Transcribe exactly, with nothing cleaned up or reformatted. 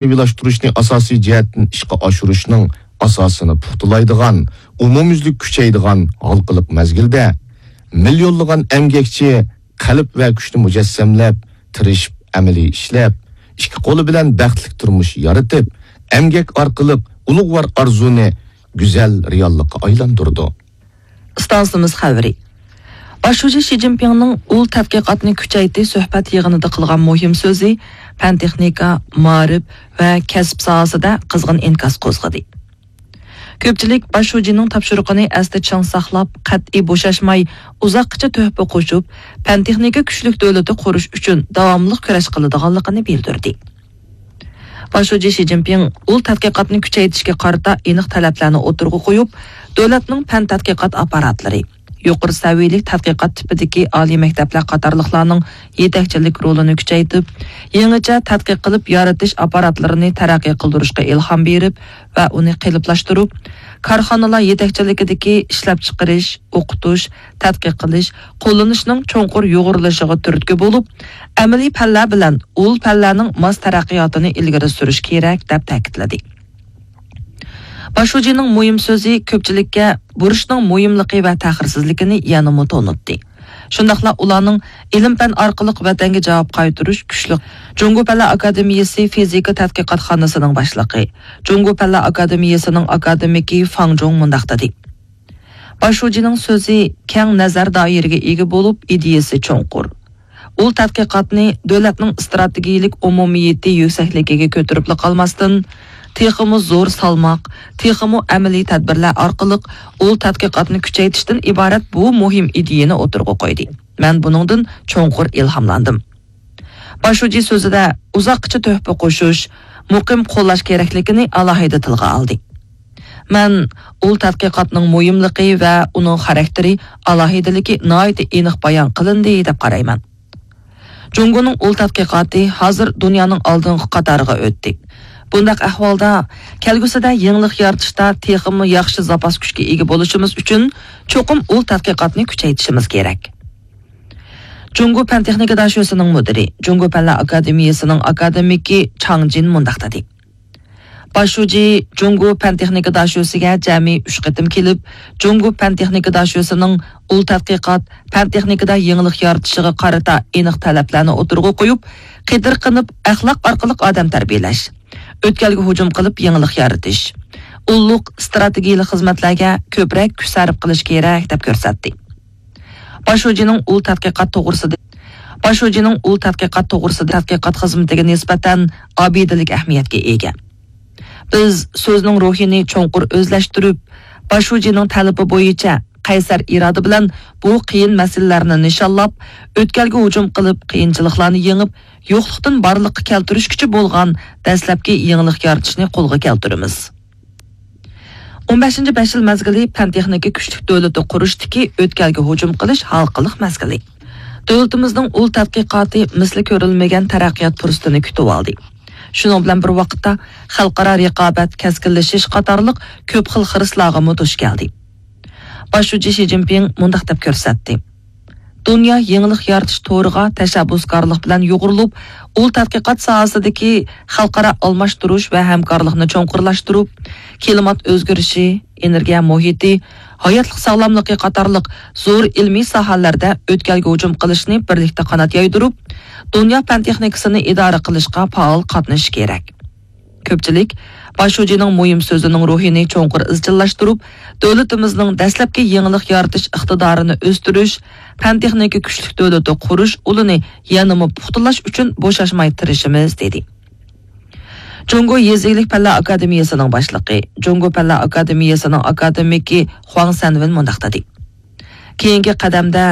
ئىجتىمائىيلاشتۇرۇشنى ئاساسىي جەھەتتىن ئىشقا ئاشۇرۇشنىڭ ئاساسىنى پۇختىلايدىغان، ئومۇميۈزلۈك كۈچەيدىغان ھالقىلىق مەزگىلدە، مىليونلىغان ئەمگەكچى قەلب ۋە كۈچنى مۇجەسسەملەپ، تىرىشىپ، ئەمەلىي ئىشلەپ، ئىككى قولى بىلەن بەختلىك تۇرمۇش يارىتىپ، ئەمگەك ئارقىلىق ئۇلۇغۋار ئارزۇنى گۈزەل رېئاللىققا ئايلاندۇرىدۇ. ئىستانسىمىز خەۋىرى. باش شۇجى شى جىنپىڭنىڭ ئۇل تەتقىقاتنى كۈچەيتىش سۆھبەت يىغىنىدا قىلغان مۇھىم سۆزى پەن-تېخنىكا، مائارىپ ۋە كەسىپ ساھەسىدە قىزغىن ئىنكاس قوزغىدى. كۆپچىلىك باش شۇجىنىڭ تاپشۇرۇقىنى ئەستە چىڭ ساقلاپ، قەتئىي بوشاشماي، ئۇزاققىچە تۆھپە قوشۇپ، پەن-تېخنىكا كۈچلۈك دۆلىتى قۇرۇش ئۈچۈن داۋاملىق كۈرەش قىلىدىغانلىقىنى بىلدۈردى. باش شۇجى شى جىنپىڭ ئۇل تەتقىقاتنى كۈچەيتىشكە قارىتا ئېنىق تەلەپلەرنى ئوتتۇرىغا قويۇپ، دۆلەتنىڭ پەن تەتقىقات ئاپپاراتلىرى، يۇقىرى سەۋىيەلىك تەتقىقات تىپىدىكى ئالىي مەكتەپلەر قاتارلىقلارنىڭ يېتەكچىلىك رولىنى كۈچەيتىپ، يېڭىچە تەتقىق قىلىپ يارىتىش ئاپپاراتلىرىنى تەرەققىي قىلدۇرۇشقا ئىلھام بېرىپ ۋە ئۇنى قېلىپلاشتۇرۇپ، كارخانىلار يېتەكچىلىكىدىكى ئىشلەپچىقىرىش، ئوقۇتۇش، تەتقىق قىلىش، قوللىنىشنىڭ چوڭقۇر يۇغۇرۇلۇشىغا تۈرتكە بولۇپ، ئەمەلىي پەنلەر بىلەن ئۇل پەنلەرنىڭ ماس تەرەققىياتىنى ئىلگىرى سۈرۈش كېرەك، دەپ تەكىتلىدى. باش شۇجىنىڭ مۇھىم سۆزى كۆپچىلىككە بۇرچنىڭ مۇھىملىقى ۋە تەخىرسىزلىكىنى يەنىمۇ تونۇتتى. شۇنداقلا ئۇلارنىڭ ئىلىم-پەن ئارقىلىق ۋەتەنگە جاۋاب قايتۇرۇش كۈچلۈك. جۇڭگو پەنلەر ئاكادېمىيەسى فىزىكا تەتقىقاتخانىسىنىڭ باشلىقى، جۇڭگو پەنلەر ئاكادېمىيەسىنىڭ ئاكادېمىكى فاڭ جۇڭ مۇنداق دېدى. باش شۇجىنىڭ سۆزى كەڭ نەزەر دائىرىگە ئىگە بولۇپ، ئىدىيەسى چوڭقۇر. ئۇل تەتقىقاتنى دۆلەتنىڭ ئىستراتېگىيەلىك ئومۇمىيىتى يۈكسەكلىكىگە كۆتۈرۈپلا قالماستىن، تېخىمۇ زور سالماق، تېخىمۇ ئەمەلىي تەدبىرلەر ئارقىلىق ئۇل تەتقىقاتنى كۈچەيتىشتىن ئىبارەت بۇ مۇھىم ئىدىيەنى ئوتتۇرىغا قويدى. مەن بۇنىڭدىن چوڭقۇر ئىلھاملاندىم. باش شۇجى سۆزىدە ئۇزاققىچە تۆھپە قوشۇش، مۇقىم قوللاش كېرەكلىكىنى ئالاھىدە تىلغا ئالدى. مەن ئۇل تەتقىقاتنىڭ مۇھىملىقى ۋە ئۇنىڭ خاراكتېرى ئالاھىدىلىكى ناھايىتى ئېنىق بايان قىلىندى دەپ قارايمەن. جۇڭگونىڭ ئۇل تەتقىقاتى ھازىر دۇنيانىڭ ئالدىنقى قاتارىغا ئۆتتى. بۇنداق ئەھۋالدا، كەلگۈسىدە يېڭىلىق يارىتىشتا تېخىمۇ ياخشى زاپاس كۈچكە ئىگە بولۇشىمىز ئۈچۈن، چوقۇم ئۇل تەتقىقاتنى كۈچەيتىشىمىز كېرەك. جۇڭگو پەن-تېخنىكا داشۆسىنىڭ مۇدىرى، جۇڭگو پەنلەر ئاكادېمىيەسىنىڭ ئاكادېمىكى چاڭ جىن مۇنداق دېدى. باش شۇجى جۇڭگو پەن-تېخنىكا داشۆسىگە جەمئىي ئۈچ قېتىم كېلىپ، جۇڭگو پەن-تېخنىكا داشۆسىنىڭ ئۇل تەتقىقات، پەن-تېخنىكىدا يېڭىلىق يارىتىشىغا قارىتا ئېنىق تەلەپلەرنى ئوتتۇرىغا قويۇپ، قېتىرقىنىپ، ئەخلاق ئارقىلىق ئادەم تەربىيەلەش، ئۆتكەلگە ھۇجۇم قىلىپ يېڭىلىق يارىتىش، ئۇللۇق ئىستراتېگىيەلىك خىزمەتلەرگە كۆپرەك كۈچ سەرپ قىلىش كېرەك، دەپ كۆرسەتتى. باش شۇجىنىڭ ئۇل تەتقىقات توغرىسىدا، باش شۇجىنىڭ ئۇل تەتقىقات توغرىسىدا تەتقىقات خىزمىتىگە نىسبەتەن ئابىدىلىك ئەھمىيەتكە ئىگە. بىز سۆزنىڭ روھىنى چوڭقۇر ئۆزلەشتۈرۈپ، باش شۇجىنىڭ تەلىپى بويىچە قەيسەر ئىرادە بىلەن بۇ قىيىن مەسىلىلەرنى نىشانلاپ، ئۆتكەلگە ھۇجۇم قىلىپ، قىيىنچىلىقلارنى يېڭىپ، يوقلۇقتىن بارلىققا كەلتۈرۈشكىچە بولغان دەسلەپكى يېڭىلىق يارىتىشنى قولغا كەلتۈرىمىز. ئون بەشىنچى بەش يىل مەزگىلى پەن-تېخنىكا كۈچلۈك دۆلىتى قۇرۇشتىكى ئۆتكەلگە ھۇجۇم قىلىش ھالقىلىق مەزگىلى. دۆلىتىمىزنىڭ ئۇل تەتقىقاتى مىسلى كۆرۈلمىگەن تەرەققىيات پۇرسىتىنى كۈتۈۋالدى. شۇنىڭ بىلەن بىر ۋاقىتتا، خەلقئارا رىقابەت كەسكىنلىشىش قاتارلىق كۆپ خىل خىرىسلارغىمۇ دۇچ كەلدى. باش شۇجى شى جىنپىڭ مۇنداق دەپ كۆرسەتتى. دۇنيا يېڭىلىق يارىتىش تورىغا تەشەببۇسكارلىق بىلەن يۇغۇرۇلۇپ، ئۇل تەتقىقات ساھەسىدىكى خەلقئارا ئالماشتۇرۇش ۋە ھەمكارلىقنى چوڭقۇرلاشتۇرۇپ، كىلىمات ئۆزگىرىشى، ئېنېرگىيە مۇھىتى، ھاياتلىق ساغلاملىقى قاتارلىق زور ئىلمىي ساھەلەردە ئۆتكەلگە ھۇجۇم قىلىشنى بىرلىكتە قانات يايدۇرۇپ، دۇنيا پەن-تېخنىكىسىنى ئىدارە قىلىشقا پائال قاتنىشىش كېرەك. كۆپچىلىك باش شۇجىنىڭ مۇھىم سۆزىنىڭ روھىنى چوڭقۇر ئىزچىللاشتۇرۇپ، دۆلىتىمىزنىڭ دەسلەپكى يېڭىلىق يارىتىش ئىقتىدارىنى ئۆستۈرۈش، پەن-تېخنىكا كۈچلۈك دۆلىتى قۇرۇش ئۇلىنى يەنىمۇ پۇختىلاش ئۈچۈن بوشاشماي تىرىشىمىز، دېدى. جۇڭگو يېزا ئىگىلىك پەنلەر ئاكادېمىيەسىنىڭ باشلىقى، جۇڭگو پەنلەر ئاكادېمىيەسىنىڭ ئاكادېمىكى خۇاڭ سەنۋېن مۇنداق دېدى. كېيىنكى قەدەمدە